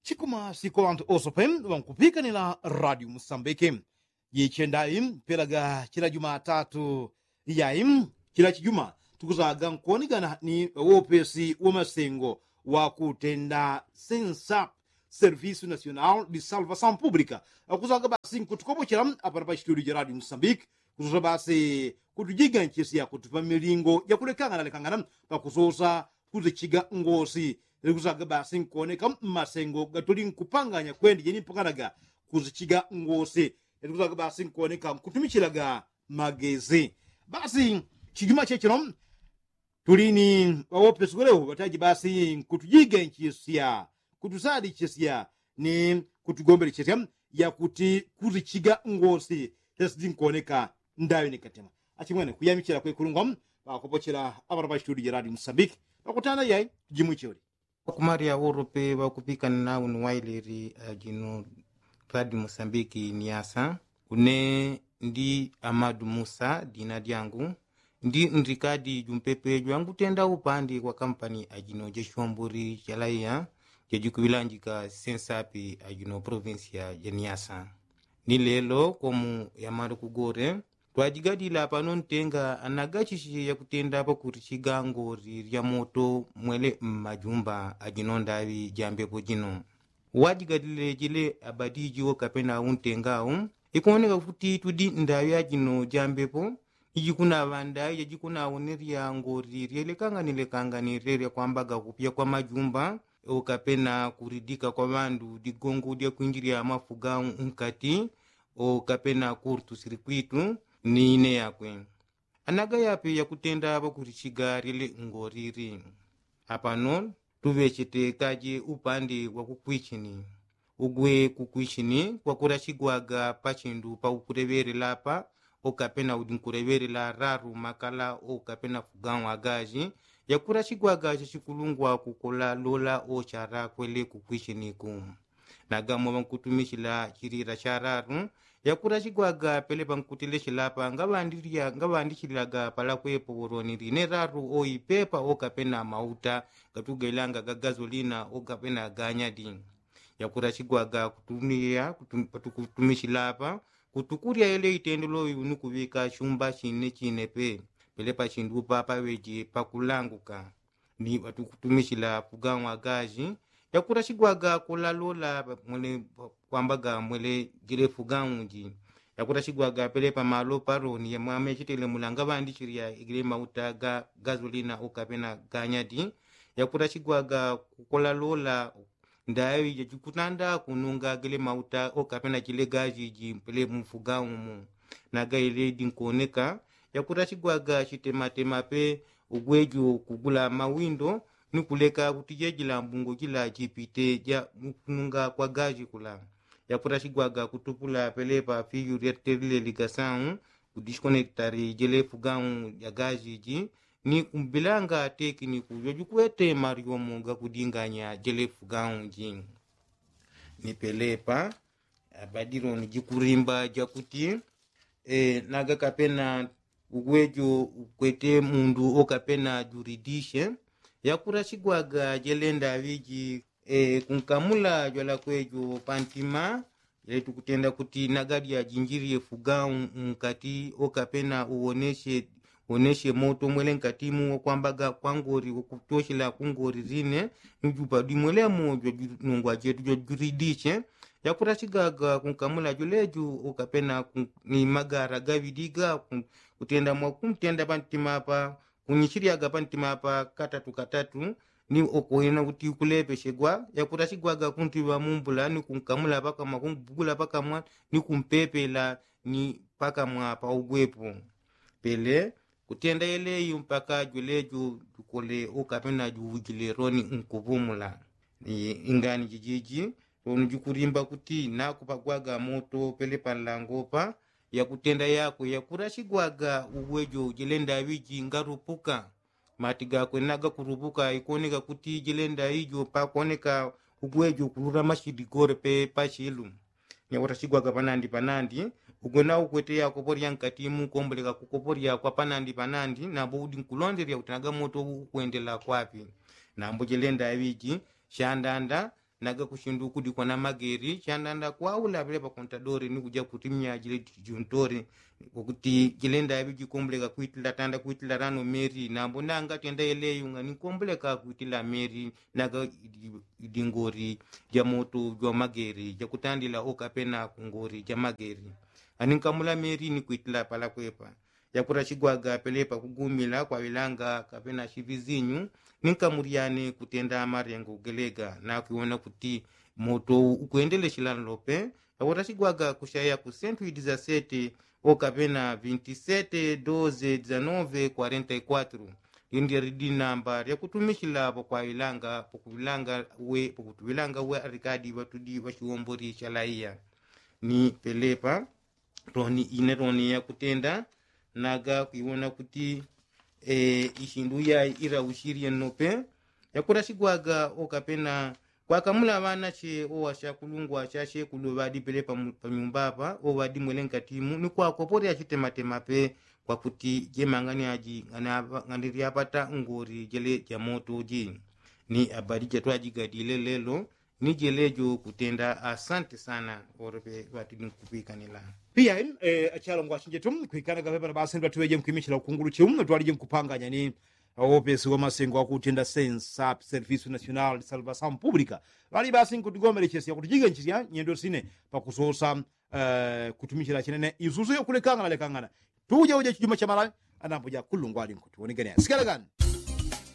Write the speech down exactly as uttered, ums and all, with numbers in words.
Chikumasi kwa ŵanthu ose pem ŵankupikanila radio musambiki. Jichenda im pelaga chila jumatatu yai chila chijuma tukuzaga nkuonegana ni wopesi wa masengo wa kutenda sensa servisu nasional di salvasaun publika. Akuzaga basi nkutukopochela apana pa chitudio ja radio musambiki kusosa basi kutujiganchisya kutupa milingo jakulekangana lekangana pakusosa kuzichiga ngosi. Likuzaga basi nkuoneka mmasengo gatuli nkupanganya kwenda jeni mpanganaga kuzichiga ngosi. Likuzaga basi nkuoneka nkutumichilaga magezi. Basi chijuma chechino tulini ŵawopesukwelewo ŵataji basi nkutujiganchisya kutusadichisya ni kutugombelechesya yakuti kuzichiga ngosi tesidi nkuoneka ndaŵi ni katema. Achimwene kuyamichila kwekulungwa ŵakopochela aŵana ŵa chitudio ja radio musambiki. Ŵakutana yai jimwicholi. Ŵakumalya ŵolope ŵakupikanila uni waileli ajino radio musambiki ni asa. Une ndi amadu musa dina dyangu. Ndi ndikadi jumpepe jwangutenda upandi kwa kampani ajino ja shombuli ja laiya jajikuŵilanjika sensapi ajino provinsia ja niasa. Ni lelo komu yamali kugore twajigadila pano ntenga anagachishi yakutenda pakuti chigango lilya moto mwele mmajumba ajino ndaŵi ja mbepo jino. Wajigadile jile abadiji okapena untengau ikuoneka kuti tudi ndaŵi ajino ja mbepo. Ijikunaŵa ndaŵi jajikunawonerya ngoli lyelekanganile kanganile lyakwambaga kupya kwa majumba okapena kulidika kwa ŵandu ligongo lyakwinjilya mafuga nkati okapena kurtu sirikwitu ni ine yakwe. Anagayape yakutenda ŵakulichiga lyele ngoli li. Apano tuŵechete kaje upande wakukwichini. Ugwe kukwichini kwakulachigwaga pachindu pakukuleŵelela apa okapena udi nkuleŵelela lalu makala okapena fugaũ agaji. Yakulachigwaga chachikulungwa kukola lola ochala kwele kukwichiniku. Nagamo ŵankutumichila chilila cha lalu yakulachigwaga pele pankuteleche lapa ngaŵandichilaga palakwepo wolonili ne lalu oipepa okapena mauta gatugailanga ga gazolina okapena ganyadi. Yakulachigwaga kutumiya patukutumichila apa kutukulya yele itendelo yu ni kuŵika chumba chine chine pe. Pele pachindu papa ŵeje pakulanguka ni ŵatukutumichila fugaũ agaji. Yakulachigwaga kulalola mwele kwambaga mwele jile fugaũ ji. Yakulachigwaga pele pamalo palo ni yamwame chitele mulanga ŵandichilya igile mauta ga gazolina okapena ganyadi. Yakulachigwaga kukulalola ndaŵi jajikutanda kununga gele mauta okapena jile gaji ji pele mufugaũ mu. Nagaile dinkuoneka yakutachigwaga chitematema pe ugwejo kugula mawindo ni kuleka kuti jejila mbungo jila jipite ja mukununga kwa gaji kula. Yakutachigwaga kutupula pele pa fiyu lyaterile ligasau kudishikonektari jele fugaũ ja gaji ji ni kumbilanga tekiniku jojukwete malyomo gakudinganya jele fugaũ ji. Ni pelepa abadiloni jikulimba jakuti e, naga kapena ugwejo ukwete mundu okapena juridishe. Yakutachigwaga jelenda ŵiji e, kunkamula jwalakwejo pantima. Jele tukutenda kuti naga lyajinjilye fugaũ nkati okapena uwoneshe woneshe moto mwele nkatimu wakwambaga kwa ngoli wakutoshela ku ngoli line. Ni jupa dimwelemo jwajunungwa jetu jwajuridishe. Yakutachigwaga kunkamula jwelejo okapena ni magara gaŵiliga kutenda mwakuntenda pantima apa kunyichilyaga pantima apa katatu katatu. Ni okoyena kuti kulepeshegwa yakutachigwaga kuntiŵa mumbula ni kunkamula pakamwa kumbugula pakamwa ni kumpepela ni pakamwa paugwepo. Pele kutenda yeleyo mpaka jwelejo jukole okapena juwujile loni nkupumula. Ingani jijiji loni jukulimba kuti nakupagwaga moto pele panlangopa. Yakutenda yakwe yakutachigwaga ugwejo jelenda ŵiji ngalupuka. Mati gakwe nagakurupuka ikoneka kuti jilenda ijo pakoneka ugwejo kulula mashidi gore pe pachilu. Nyakutachigwaga panandi panandi ugwe naukwete yakopo lyankatimu komboleka kukopo lyakwa panandi panandi nambo udi nkulondelya kuti naga moto ukwendela kwapi. Nambo jilenda ŵiji shandanda Naga kushindu kudikwa na mageri chandanda kwaula pele pakontadori ni kuja kutimya jile juntori. Kukuti jile ndayabi jikomboleka kwitila tanda kwitila rano meri nambo nanga tenda yeleyunga ni komboleka kwitila meri. Naga idingori ja moto jwa mageri jakutandila okapena kungori ja mageri. Aninkamula meri ni kwitila pala kwepa. Yakurachigwaga pelepa kugumila kwa wilanga kapena shivizinyu. Ninkamuryane kutenda marengo gelega nakwiwona kuti moto ukwendeleshila nlope. Yakurachigwaga kushaya ku sentu idizasete okapena vintisete doze dizanove kwarenta ikwatru. Lindi lidi namba lyakutumishila pokwa wilanga pokuwilanga we pokutuwilanga we arikadi ŵatudi ŵashiwombori shalaiya. Ni pelepa toni ine toni yakutenda naga kwiwona kuti ishindu yai irausirye nope. Yakurasigwaga okapena kwakamula ŵanache owashakulungwa shashekulu ŵadipele panyumba apa oŵadimwele nkatimu ni kwakoporya chitematema pe. Kwakuti jemangani aji ng'andiryapata ngori jele jamoto ji. Ni abadi jatwajigadile lelo ni jelejo kutenda asante sana. Orope ŵatidi nkupikanila. Piya achalongwa achinjetu kwikanaga pepana basi ndwatuŵeje nkwimichila ukunguluchi umwe twalije nkupanganya ni awope siwa masengo akutenda sensa servicio national de salvação publica. Ŵali basi nkutigomelechesya kutijiga nchisya nyendo sine pakusosa kutumichila chinene isusu yokulekangana lekangana. Tuja uja chijuma chamalawi anambo jakulungwa ali nkutiwonegania sikala gani?